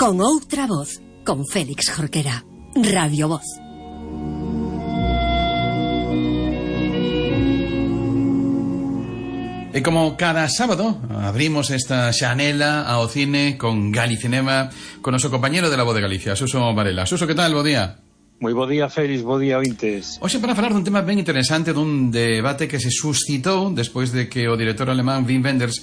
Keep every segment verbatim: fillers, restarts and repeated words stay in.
Con outra voz, con Félix Jorquera. Radio Voz. E como cada sábado abrimos esta xanela ao cine con Galicinema, con noso compañero de La Voz de Galicia, Suso Varela. Suso, que tal? Bo día. Moi bo día, Félix, bo día, ointes. Hoxe para falar dun tema ben interesante, dun debate que se suscitou despois de que o director alemán Wim Wenders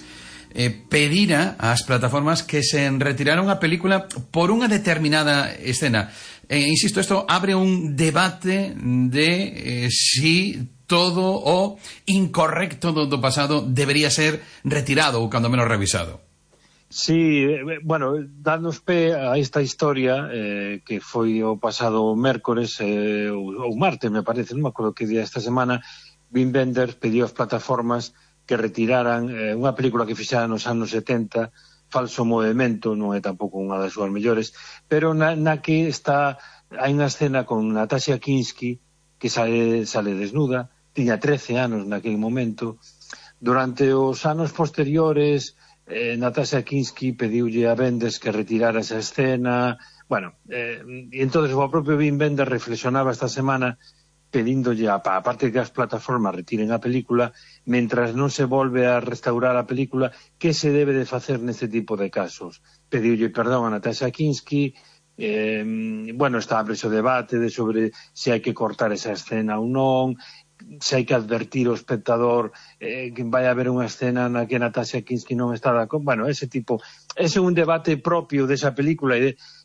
eh, pedira ás plataformas que se retiraran a película por unha determinada escena. Eh, insisto, isto abre un debate de eh, si todo o incorrecto do, do pasado debería ser retirado ou cando menos revisado. Sí, bueno, danos pé a esta historia eh, que foi o pasado mércores eh, ou martes, me parece, non me acordo que día esta semana. Wim Wenders pediu ás plataformas que retiraran eh, unha película que fixera nos anos setenta, Falso Movimento, non é tampouco unha das súas mellores, pero na, na que está, hai unha escena con Natasha Kinski que sale, sale desnuda, tiña trece anos naquele momento. Durante os anos posteriores, eh, Natasha Kinski pediulle a Wenders que retirara esa escena. Bueno, eh, e entonces o propio Wim Wenders reflexionaba esta semana pedíndolle, a, a parte que as plataformas retiren a película, mentras non se volve a restaurar a película, que se debe de facer neste tipo de casos? Pediulle perdón a Natasha Kinski. Eh, bueno, está abre o debate de sobre se hai que cortar esa escena ou non, se hai que advertir ao espectador eh, que vai haber unha escena na que Natasha Kinski non está de acordo. Bueno, ese tipo, ese é un debate propio desa película,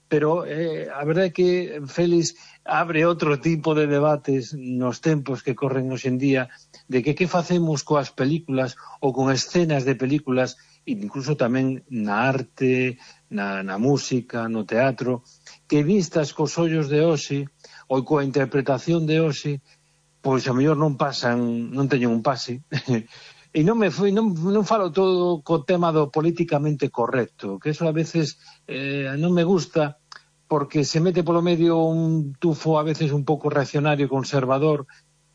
pero eh, a verdade é que Félix abre outro tipo de debates nos tempos que corren hoxe en día, de que que facemos coas películas ou con escenas de películas, incluso tamén na arte, na, na música, no teatro, que vistas cos ollos de hoxe ou coa interpretación de hoxe, pois a mellor non pasan, non teñen un pase. E non me foi, non, non falo todo co tema do políticamente correcto, que eso a veces eh, non me gusta, porque se mete polo medio un tufo a veces un pouco reaccionario, conservador,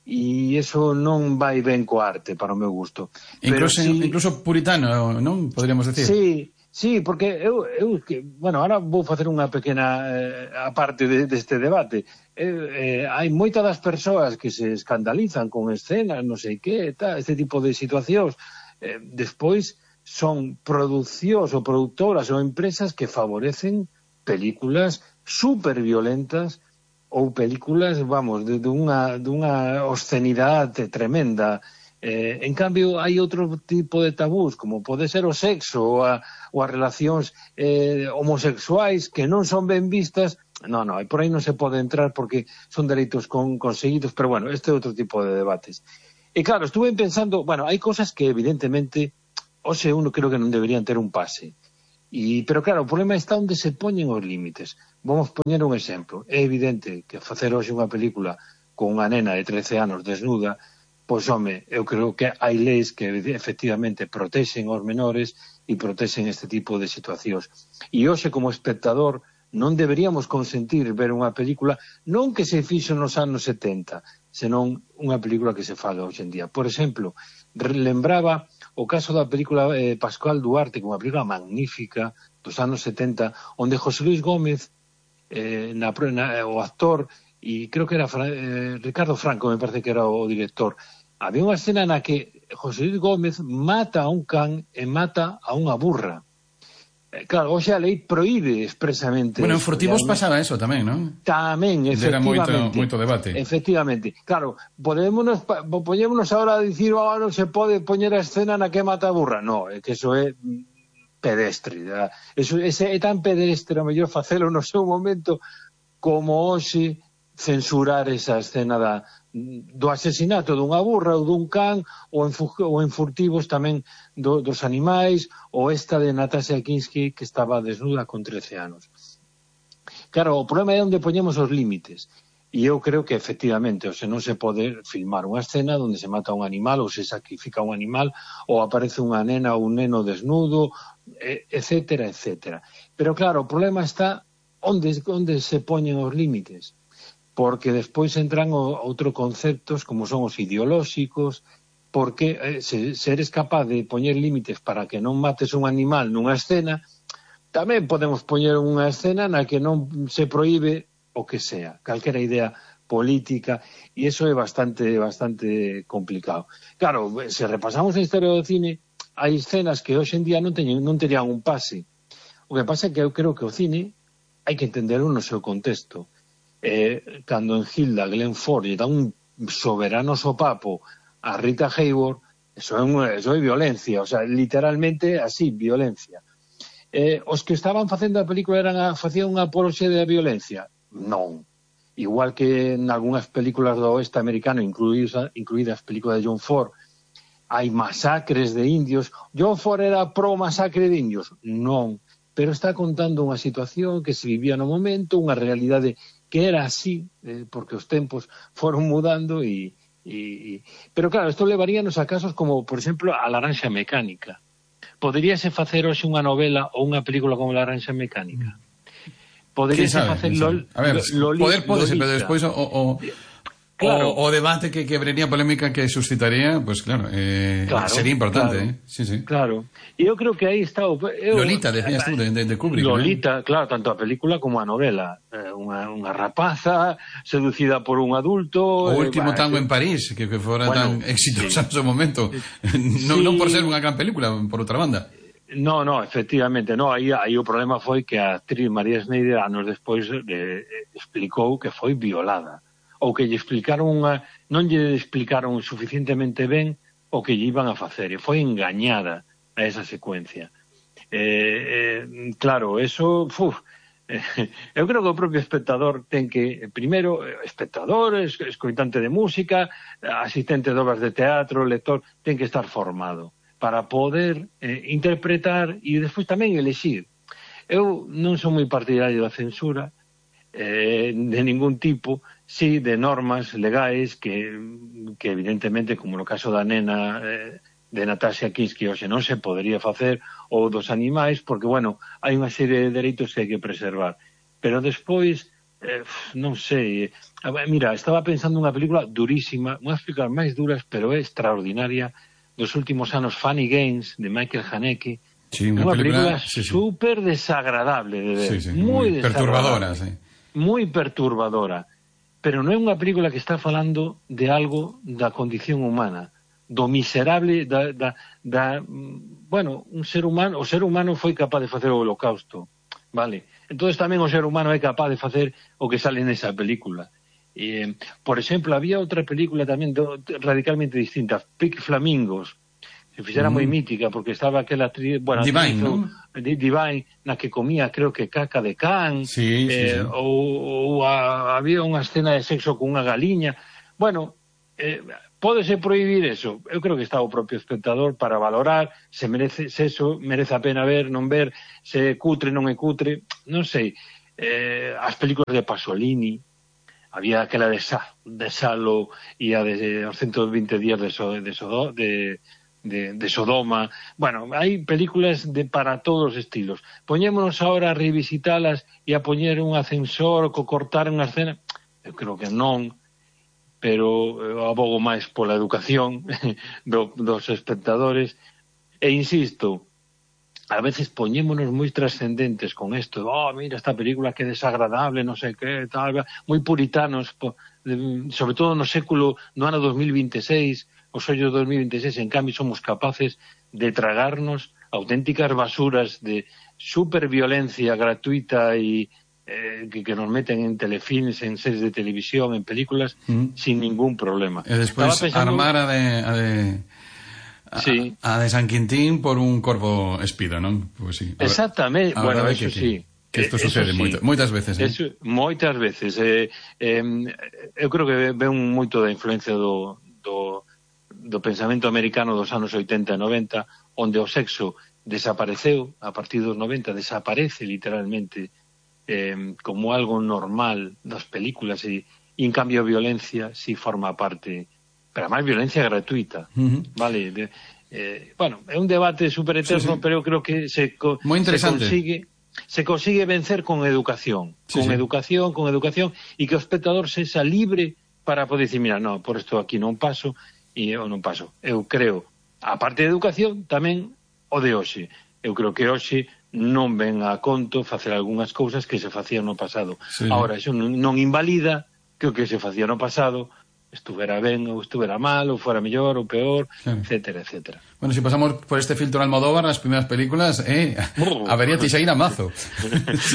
e eso non vai ben co arte, para o meu gusto. Incluso, si, incluso puritano, non? Podríamos decir. Sí, sí, porque eu, eu que, bueno, ahora vou facer unha pequena eh, aparte de, deste debate. Eh, eh, hai moitas das persoas que se escandalizan con escenas, non sei que, tal, este tipo de situacións. Eh, despois son produccións ou productoras ou empresas que favorecen películas super violentas ou películas, vamos, de, de unha, de unha obscenidade tremenda. Eh, en cambio, hai outro tipo de tabús, como pode ser o sexo ou, a, ou as relacións eh, homosexuais que non son ben vistas. No, no, por aí non se pode entrar porque son dereitos con, conseguidos, pero bueno, este é outro tipo de debates. E claro, estuve pensando, bueno, hai cosas que evidentemente, hoxe uno creo que non deberían ter un pase. E, pero claro, o problema está onde se poñen os límites. Vamos poñer un exemplo. É evidente que facer hoxe unha película con unha nena de trece anos desnuda, pois, home, eu creo que hai leis que efectivamente protexen os menores e protexen este tipo de situacións. E hoxe, como espectador, non deberíamos consentir ver unha película non que se fixo nos anos setenta, senón unha película que se faga hoxe en día. Por exemplo, lembraba o caso da película eh, Pascual Duarte, que é unha película magnífica dos anos setenta, onde José Luis Gómez, eh, na, na, o actor, e creo que era eh, Ricardo Franco, me parece que era o director, había unha escena na que José Luis Gómez mata a un can e mata a unha burra. Claro, hoxe a lei proíbe expresamente. Bueno, en Furtivos pasaba eso tamén, non? Tamén, efectivamente. Era moito, moito debate. Efectivamente. Claro, podémonos, podémonos ahora a dicir, oh, non se pode poñer a escena na que mata a burra. No, é que eso é pedestre. Eso, ese é tan pedestre, a mellor facelo no seu momento, como hoxe censurar esa escena da, do asesinato dunha burra ou dun can, ou en, ou en Furtivos tamén do, dos animais, ou esta de Natasha Kinski que estaba desnuda con trece anos. Claro, o problema é onde poñemos os límites, e eu creo que efectivamente, o se non se pode filmar unha escena onde se mata un animal ou se sacrifica un animal ou aparece unha nena ou un neno desnudo, etcétera, etcétera. Pero claro, o problema está onde, onde se poñen os límites, porque despois entran o, outro conceptos como son os ideolóxicos, porque eh, se, se eres capaz de poñer límites para que non mates un animal nunha escena, tamén podemos poñer unha escena na que non se proíbe o que sea, calquera idea política, e iso é bastante bastante complicado. Claro, se repasamos a historia do cine, hai escenas que hoxe en día non teñen, non terían un pase. O que pasa é que eu creo que o cine hai que entenderlo no seu contexto. Eh, cando en Hilda Glenn Ford lle dá un soberano sopapo a Rita Hayworth, eso é, un, eso é violencia, o sea, literalmente así, violencia. Eh, os que estaban facendo a película eran a, facían unha apoloxia da violencia? Non. Igual que en algunhas películas do oeste americano, incluídas, incluídas as películas de John Ford, hai masacres de indios. John Ford era pro masacre de indios? Non. Pero está contando unha situación que se vivía no momento, unha realidade que era así, eh, porque os tempos foron mudando e, e, e... Pero claro, isto levaríanos a casos como, por exemplo, a Laranxa Mecánica. Poderíase facer hoxe unha novela ou unha película como Laranxa Mecánica? Poderíase facer Lol, a ver, Loli, poder podese, Lolita. pero despois o, o, claro. o, o debate que quebraría polémica que suscitaría, pues claro, eh, claro sería importante, claro. eh? Sí, sí. Claro. E eu creo que aí está o... Eu, Lolita, decías tú, de, de Kubrick. Lolita, ¿no? Claro, tanto a película como a novela. Eh, unha, unha rapaza seducida por un adulto... O último eh, tango eh, en París, que, que fora bueno, tan exitosa sí. en su momento. non, sí. non por ser unha gran película, por outra banda. No, no, efectivamente, no, aí, aí o problema foi que a actriz María Schneider anos despois eh, explicou que foi violada, ou que lle explicaron unha, non lle explicaron suficientemente ben o que lle iban a facer, e foi engañada a esa secuencia. Eh, eh, claro, eso, uf, eh, eu creo que o propio espectador ten que, primeiro, espectador, escoitante de música, asistente de obras de teatro, lector, ten que estar formado para poder eh, interpretar e despois tamén elexir. Eu non son moi partidario da censura eh, de ningún tipo, sí de normas legais que, que evidentemente, como no caso da nena eh, de Natasha Kinski, hoxe non se podería facer, ou dos animais, porque, bueno, hai unha serie de dereitos que hai que preservar. Pero despois, eh, non sei, eh, mira, estaba pensando unha película durísima, unha das películas máis duras, pero é extraordinaria, dos últimos anos, Funny Games, de Michael Haneke. Sí, unha película, película sí, sí. super desagradable de ver, sí, sí, moi, moi perturbadora, sí. moi perturbadora, pero non é unha película que está falando de algo da condición humana, do miserable da, da, da bueno, un ser humano, o ser humano foi capaz de facer o Holocausto, vale? Entonces tamén o ser humano é capaz de facer o que sale nesa película. Eh, por exemplo, había outra película tamén do, radicalmente distinta, Pink Flamingos, se fixera mm. moi mítica, porque estaba aquela actriz, bueno, Divine, actriz, ¿no? Divine, na que comía, creo que caca de can, sí, eh, sí, sí. ou, ou a, había unha escena de sexo con unha galiña. Bueno, eh, pódese prohibir eso? Eu creo que está o propio espectador para valorar se merece, se eso merece a pena ver, non ver, se é cutre, non é cutre, non sei. Eh, as películas de Pasolini, había aquela de, Sa, de Salo e a de os ciento vinte días de, so, de, so, de, de, de Sodoma. Bueno, hai películas de para todos os estilos. Poñémonos ahora a revisitalas e a poñer un ascensor co cortar unha escena. Eu creo que non, pero eu abogo máis pola educación do, dos espectadores. E insisto, a veces poñémonos moi trascendentes con isto, oh, mira esta película que desagradable, non sei que, tal, moi puritanos, sobre todo no século, no ano dos mil veintiséis, os ollos dos mil veintiséis, en cambio somos capaces de tragarnos auténticas basuras de superviolencia gratuita e eh, que, que nos meten en telefilms, en series de televisión, en películas, mm. sin ningún problema. E despois pensando... armar a de... A de... A, sí. a de San Quintín por un corvo espido, non? Pues sí. Exactamente, a bueno, eso que, sí. Que isto sucede sí. moito, moitas veces, eh? Eso, moitas veces. Eh, eh, eu creo que ven moito da influencia do, do, do pensamento americano dos anos oitenta e noventa, onde o sexo desapareceu, a partir dos noventa desaparece literalmente eh, como algo normal das películas e, e en cambio a violencia si forma parte... pero máis violencia gratuita, uh-huh. vale? De, eh, bueno, é un debate super eterno, sí, sí. pero eu creo que se, co, se consigue se consigue vencer con educación, sí, con sí. educación, con educación, e que o espectador sexa libre para poder dicir, mira, no, por isto aquí non paso, e eu non paso. Eu creo, a parte de educación, tamén o de hoxe. Eu creo que hoxe non ven a conto facer algunhas cousas que se facían no pasado. Sí. Ahora, iso non, non invalida que o que se facía no pasado estuvera ben ou estuvera mal, ou fora mellor ou peor, claro. etcétera, etcétera. Bueno, si pasamos por este filtro Almodóvar, las primeras películas, eh, oh. Avería Teixeira a mazo.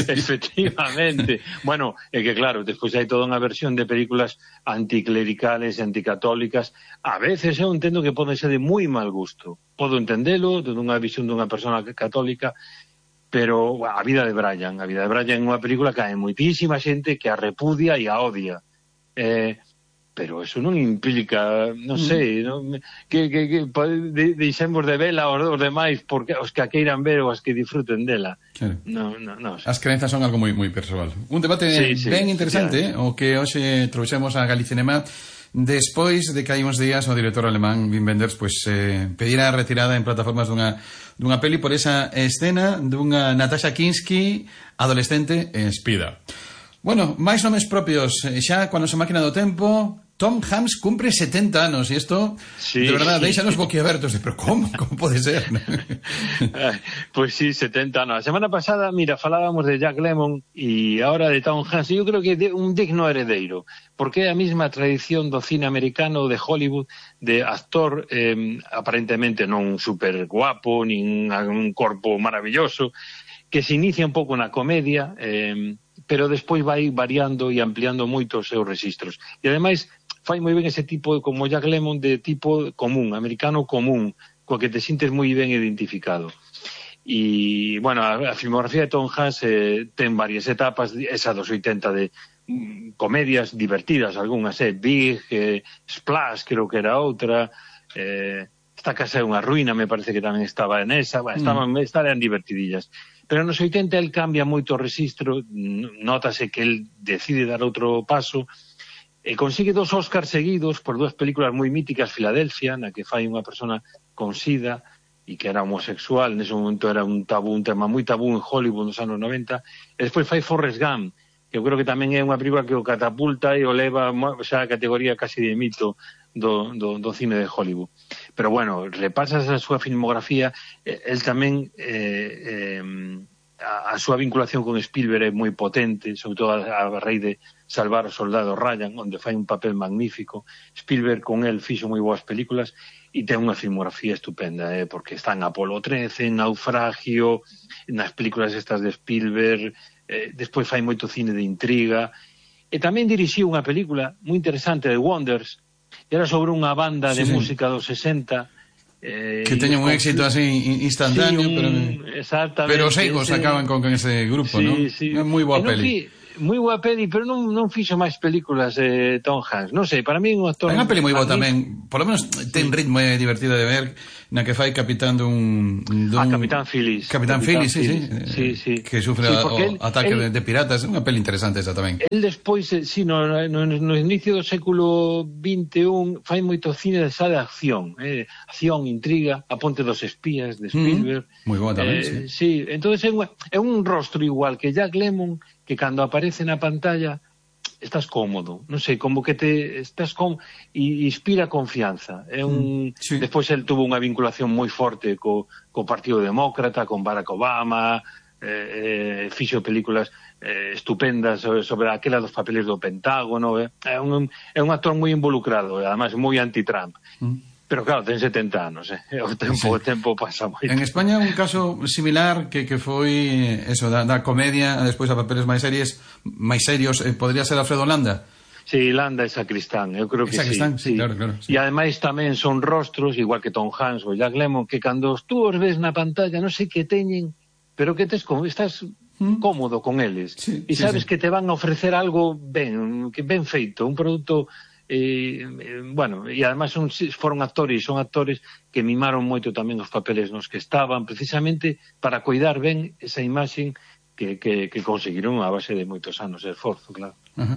Efectivamente. Bueno, é que claro, despois hai toda unha versión de películas anticlericales e anticatólicas. A veces eu entendo que poden ser de moi mal gusto. Podo entendelo, dunha visión dunha persona católica, pero a vida de Brian, a vida de Brian é unha película que hai moitísima xente que a repudia e a odia. Eh... pero eso non implica, non sei, non, que, que, que de, deixemos de vela aos, os demais porque os que a queiran ver ou os que disfruten dela. Claro. No, no, no. As crenzas son algo moi moi persoal. Un debate sí, sí, ben interesante, sí, o que hoxe trouxemos a Galicinema despois de que hai uns días o director alemán Wim Wenders pues, eh, pedira a retirada en plataformas dunha, dunha peli por esa escena dunha Natasha Kinski adolescente en Espida. Bueno, máis nomes propios, xa cuando se máquina do tempo. Tom Hanks cumpre setenta anos e isto, sí, de verdad, sí, deixanos boquiabertos de, pero como, como pode ser? Pois pues sí, setenta anos. A semana pasada, mira, falábamos de Jack Lemmon e ahora de Tom Hanks, e eu creo que é un digno heredeiro, porque é a mesma tradición do cine americano de Hollywood, de actor eh, aparentemente non super guapo, nin un corpo maravilloso, que se inicia un pouco na comedia, eh, pero despois vai variando e ampliando moito os seus registros. E ademais fai moi ben ese tipo, como Jack Lemmon, de tipo común, americano común, co que te sintes moi ben identificado. E, bueno, a, a filmografía de Tom Hanks eh, ten varias etapas, esa dos oitenta de mm, comedias divertidas, algunhas, eh, Big, eh, Splash, creo que era outra, eh, Esta casa é unha ruína, me parece que tamén estaba en esa, bueno, estaban, mm. estaban divertidillas. Pero nos oitenta el cambia moito o registro, notase que el decide dar outro paso, e consigue dos Óscars seguidos por dúas películas moi míticas, Filadelfia, na que fai unha persona con sida e que era homosexual, nese momento era un tabú, un tema moi tabú en Hollywood nos anos noventa, e despois fai Forrest Gump, que eu creo que tamén é unha película que o catapulta e o leva xa a categoría casi de mito do, do, do cine de Hollywood. Pero bueno, repasas a súa filmografía, el tamén eh, eh, a, a súa vinculación con Spielberg é moi potente, sobre todo a, a raíz de Salvar o soldado Ryan, onde fai un papel magnífico. Spielberg con el fixo moi boas películas e ten unha filmografía estupenda, eh, porque está en Apolo trece, en Naufragio, nas películas estas de Spielberg, eh, despois fai moito cine de intriga, e tamén dirixiu unha película moi interesante de Wonders, era sobre unha banda de sí, música dos sesenta, eh, que teña un éxito así instantáneo, sí, un, pero pero os egos acaban con, con ese grupo, sí, ¿no? Sí. É moi boa peli. Moi boa peli, pero non, non fixo máis películas eh, Tom Hanks. Non sei, para mí é un actor... É unha peli moi boa tamén, por lo menos ten ritmo e divertida de ver, na que fai capitán dun... dun ah, Capitán Phillips. Capitán, Capitán Phillips, sí, sí, sí, sí. Que sufre sí, o el, ataque el, de, de piratas. É unha peli interesante esa tamén. El despois, sí, no, no, no inicio do século vinte e un, fai moito cine de esa de acción, eh, acción, intriga, A Ponte dos Espías, de Spielberg. Mm, moi boa tamén, eh, sí. Sí, entonces é un, é un rostro igual que Jack Lemmon, que cando aparece na pantalla estás cómodo, non sei, como que te estás com e inspira confianza. É un mm, sí. Despois el tuvo unha vinculación moi forte co, co Partido Demócrata, con Barack Obama, eh, eh, fixo películas eh, estupendas sobre, sobre aquela dos papeles do Pentágono, eh. É un é un actor moi involucrado, e además moi anti-Trump. Mm. Pero claro, ten setenta anos, eh? o tempo, sí. o tempo pasa moito. En España un caso similar que, que foi eso, da, da comedia, despois a papeles máis series, máis serios, eh, podría ser Alfredo Landa? Sí, Landa é Sacristán, eu creo que Sacristán, sí. sí, claro, claro. Sí. E ademais tamén son rostros, igual que Tom Hanks ou Jack Lemmon, que cando tú os ves na pantalla non sei que teñen, pero que tes como estás ¿Mm? cómodo con eles. Sí, e sabes sí, sí. que te van a ofrecer algo ben, que ben feito, un produto... Eh, eh, bueno, e además son, foron actores, son actores que mimaron moito tamén os papeles nos que estaban, precisamente para cuidar ben esa imaxe que, que, que conseguiron a base de moitos anos de esforzo, claro. Uh-huh.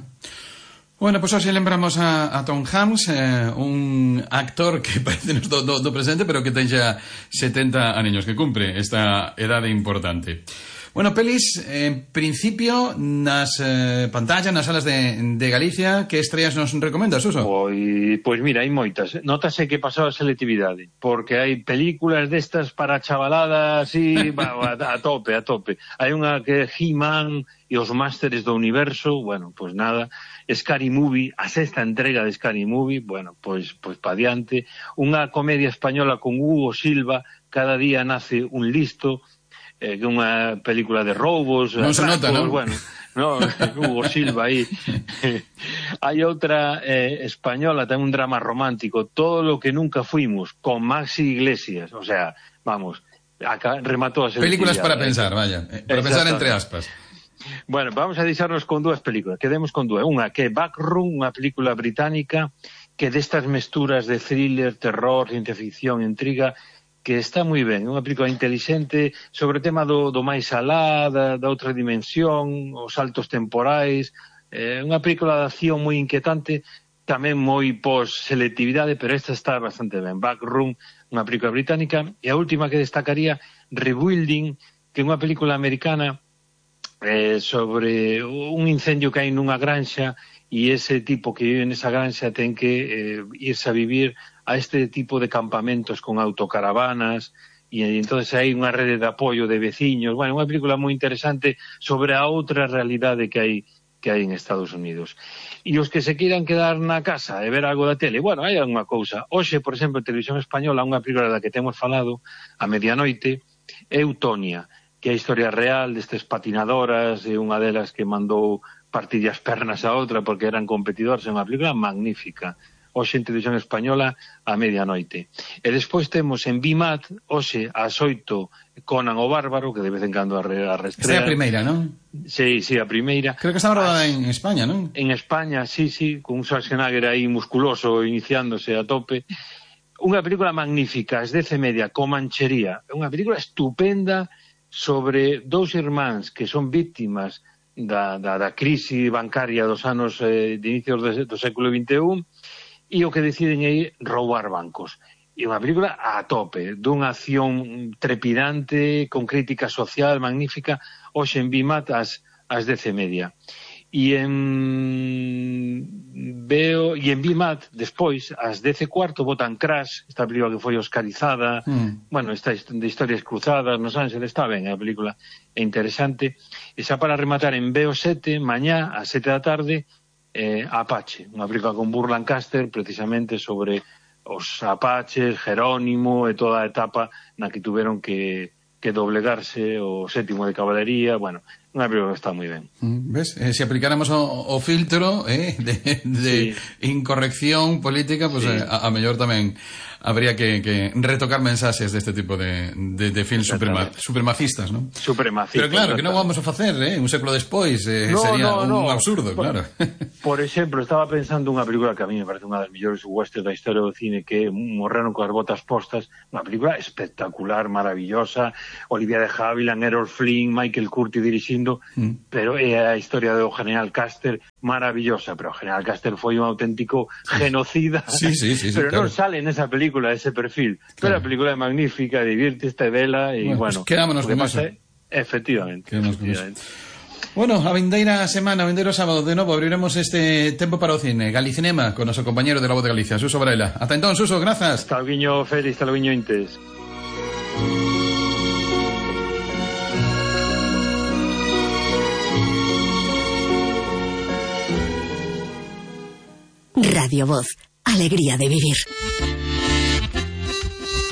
Bueno, pois pues hoxe lembramos a, a Tom Hanks, eh, un actor que parece do, do, do presente, pero que ten xa setenta anos, que cumpre esta edade importante. Bueno, pelis, en principio, nas eh, pantallas, nas salas de, de Galicia, que estreas nos recomendas, Suso? Pois, pois mira, hai moitas. Notase que pasou a selectividade, porque hai películas destas para chavalada así, a, a tope, a tope. Hai unha que é He-Man e os Másteres do Universo, bueno, pois nada. Scary Movie, a sexta entrega de Scary Movie, bueno, pois, pois pa diante. Unha comedia española con Hugo Silva, Cada día nace un listo, eh, que é unha película de roubos, non se nota, non? Bueno, no, Hugo Silva aí. Hai outra eh, española, ten un drama romántico, Todo lo que nunca fuimos, con Maxi Iglesias, o sea, vamos, acá rematou a selectividade. Películas para pensar, vaya, eh, para pensar entre aspas. Bueno, vamos a deixarnos con dúas películas, quedemos con dúas. Unha que é Backroom, unha película británica que destas mesturas de thriller, terror, ciencia ficción, intriga, que está moi ben, unha película intelixente sobre o tema do, do máis alá, da, da outra dimensión, os saltos temporais, eh, unha película de acción moi inquietante, tamén moi pos-selectividade, pero esta está bastante ben. Backroom, unha película británica, e a última que destacaría, Rebuilding, que é unha película americana eh, sobre un incendio que hai nunha granxa, e ese tipo que vive nesa granxa ten que eh, irse a vivir a este tipo de campamentos con autocaravanas, e entonces hai unha rede de apoio de veciños. Bueno, unha película moi interesante sobre a outra realidade que hai que hai en Estados Unidos. E os que se queiran quedar na casa e ver algo da tele, bueno, hai unha cousa. Hoxe, por exemplo, en Televisión Española, unha película da que temos falado a medianoite, é Eutonia, que é a historia real destes patinadoras, e unha delas que mandou partir as pernas a outra porque eran competidores. É unha película magnífica. Hoxe en Televisión Española a medianoite. E despois temos en Bimat, hoxe ás oito, Conan o Bárbaro, que de vez en cando a, re, a restrea. Esta é a primeira, non? Sí, sí, a primeira. Creo que está rodada en España, non? En España, sí, sí, con un Schwarzenegger aí musculoso iniciándose a tope. Unha película magnífica, es dece media, Comanchería. É unha película estupenda sobre dous irmáns que son víctimas da, da, da crise bancaria dos anos eh, de inicios do, do século vinte e un, e o que deciden é roubar bancos. E unha película a tope, dunha acción trepidante, con crítica social magnífica, hoxe en Bimat ás, ás dece media. E en veo e en Bimat, despois, ás dece cuarto, botan Crash, esta película que foi oscarizada, mm. bueno, esta de historias cruzadas, nos Ángeles, está ben, a película é interesante. E xa para rematar en B O sete, mañá, ás sete da tarde, Eh, Apache, unha película con Burt Lancaster precisamente sobre os apaches, Jerónimo e toda a etapa na que tuveron que, que doblegarse o sétimo de Caballería. Bueno, unha película que está moi ben. ¿Ves? Eh, se aplicáramos o, o filtro eh, de, de sí. incorrección política, pues sí. eh, a, a mellor tamén habría que, que retocar mensaxes deste tipo de, de, de films suprema, supremacistas, ¿no? Supremacistas. Pero claro, que non vamos a facer, eh? Un século despois eh, no, sería no, no. un absurdo, por, claro. Por exemplo, estaba pensando unha película que a mí me parece unha das mellores westerns da historia do cine, que é Morreron coas botas postas, unha película espectacular, maravillosa, Olivia de Havilland, Errol Flynn, Michael Curtis dirixindo, mm. pero é a historia do General Custer, maravillosa, pero o General Custer foi un auténtico genocida, sí, sí, sí, sí, pero claro. non sale nesa película ese perfil, pero claro. A película é magnífica, divirte, está vela e bueno, bueno pues quedámonos con eso. É, efectivamente, efectivamente. Con eso. Bueno, a vindeira semana, a vindeiro sábado, de novo abriremos este tempo para o cine, Galicinema, con noso compañero de La Voz de Galicia, Suso Varela. Ata entón, Suso, grazas. Hasta luego, Félix, hasta luego, Intes. Radio Voz, alegría de vivir.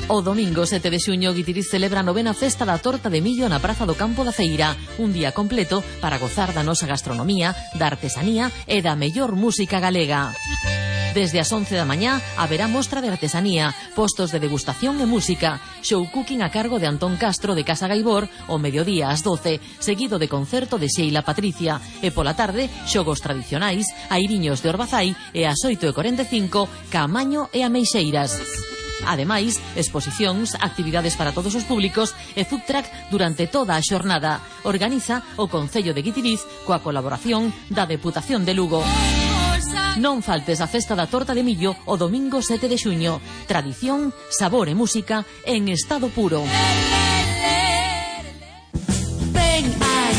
O domingo sete de xuño Guitiriz celebra a novena festa da torta de millo na Praza do Campo da Feira, un día completo para gozar da nosa gastronomía, da artesanía e da mellor música galega. Desde as once da mañá haberá mostra de artesanía, postos de degustación e música, show cooking a cargo de Antón Castro de Casa Gaibor o mediodía ás doce, seguido de concerto de Sheila Patricia, e pola tarde xogos tradicionais, airiños de Orbazai e ás oito e corenta e cinco Caamaño e Ameixeiras. Ademais, exposicións, actividades para todos os públicos e food truck durante toda a xornada. Organiza o Concello de Guitiriz coa colaboración da Deputación de Lugo. Non faltes a festa da torta de millo o domingo sete de xuño. Tradición, sabor e música en estado puro. Ven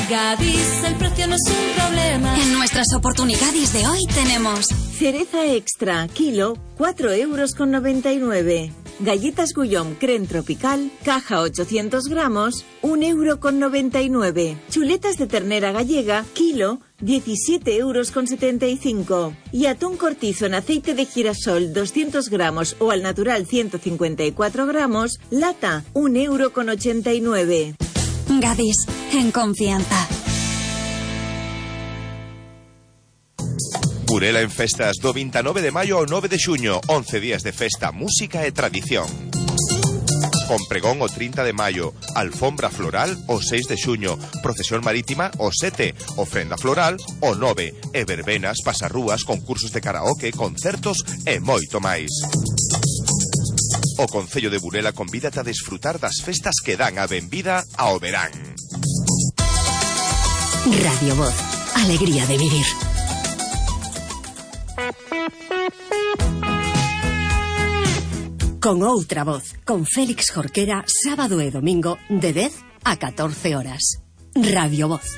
Gadis, el precio no es un problema. En nuestras oportunidades de hoy tenemos cereza extra, kilo, cuatro euros con noventa y nueve. Galletas Guillaume Creme Tropical, caja ochocientos gramos, un euro con noventa y nueve. Chuletas de ternera gallega, kilo, diecisiete euros con setenta y cinco. Y atún cortizo en aceite de girasol, doscientos gramos o al natural ciento cincuenta y cuatro gramos, lata, un euro con ochenta y nueve. Gadis, en confianza. Burela en festas do veintinueve de maio ao nove de xuño, once días de festa, música e tradición. Con pregón o trinta de maio, alfombra floral o seis de xuño, procesión marítima o sete, ofrenda floral o nove, e verbenas, pasarrúas, concursos de karaoke, concertos e moito máis. O Concello de Burela convídate a desfrutar das festas que dan a benvida ao verán. Radio Voz, alegría de vivir. Con outra voz, con Félix Jorquera, sábado e domingo de dez a catorce horas. Radio Voz.